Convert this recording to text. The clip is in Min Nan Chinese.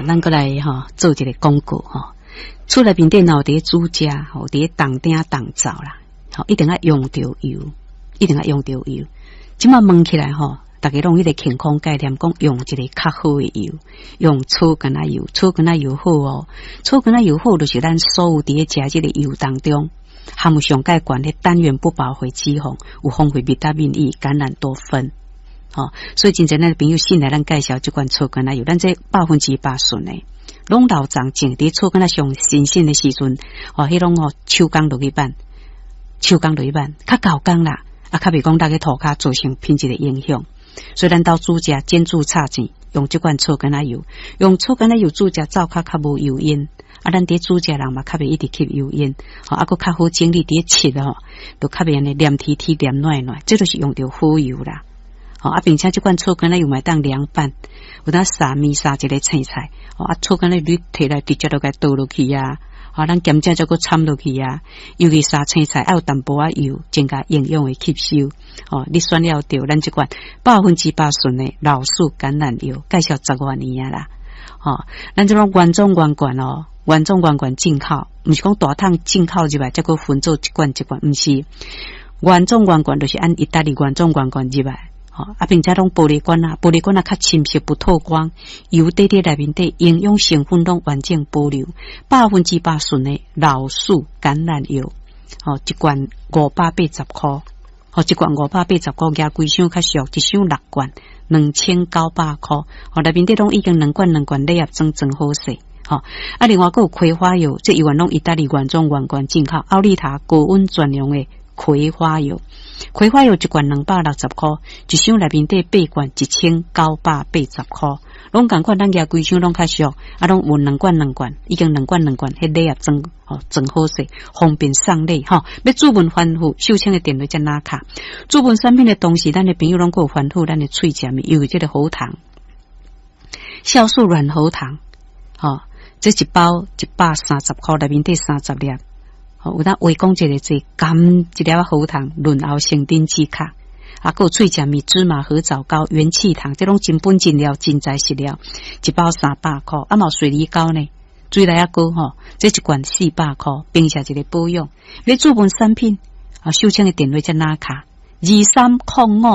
咱閣來吼做一个廣告吼。厝內面底若有佇咧煮食吼，佇咧動鼎動灶啦，吼一定愛用著油，一定愛用著油。這馬問起來吼，逐家攏有彼个健康概念，講用一个較好的油，用草根仔油，草根仔油好哦，草根仔油好，就是咱所有佇咧食這个油當中，含有上蓋懸的單元不飽和脂肪，有豐富維他命 E、橄欖多酚。吼，所以真濟咱的朋友信賴咱介紹這款草根仔油，咱這100%純的，攏老欉種佇草根仔上新鮮的時陣，吼，彼攏吼手工落去挽，手工落去挽，較厚工啦，啊，較袂講落去塗跤造成品質的影響。所以咱兜煮食煎煮炒煎，用這款草根仔油，用草根仔油煮食，灶跤較無油煙。啊，咱佇煮食人嘛，較袂一直吸油煙，吼，啊，閣較好整理佇咧切吼，就較袂按呢黏貼貼黏軟軟，這就是用著好油啦。吼，啊，並且這款草根仔油嘛會當涼拌，有當撒麵撒一个青菜，吼，啊，草根仔你提來直接就共倒落去啊，吼，咱鹹食才閣摻落去啊，尤其撒青菜愛有淡薄仔油，增加營養的吸收。吼，你選了著咱這款100%純的老樹橄欖油，介紹十外年啊啦。吼，咱這種原裝原罐哦，原裝原罐進口，毋是講大桶進口入來，才閣分做一罐一罐，毋是原裝原罐，就是按意大利原裝原罐入來。吼，啊，並且攏玻璃罐啊，玻璃罐啊較深色不透光，油底佇內面底營養成分攏完整保留，百分之百純的老樹橄欖油，吼，一罐580箍，吼，一罐五百八十箍，舉規箱較俗，一箱六罐，2900箍，吼，內面底攏已經兩罐兩罐禮盒裝裝好勢。吼，啊，另外閣有葵花油，這猶原攏意大利原裝原罐進口，奧利塔高溫專用的葵花油，葵花油一罐260箍，一箱內面底八罐1980箍，攏仝款，咱舉規箱攏較俗，啊，攏有兩罐兩罐，已經兩罐兩罐，彼禮盒裝吼裝好勢，方便送禮吼。欲諮問吩咐，秀清的電話才哪卡？諮問產品的同時，咱的朋友攏閣有吩咐咱的喙食物，尤其這個喉糖，酵素軟喉糖，吼，這一包130箍，內面底30粒。有當話講一个字，含一粒喉糖潤喉成頂止咳，啊，閣有喙食物芝麻核棗糕、元氣糖，這攏真本真料、真材實料，一包300箍。啊，嘛有水梨膏呢，水梨仔膏吼，這一罐400箍，平時一个保養。欲諮問產品，啊，秀清的電話才哪卡？2305。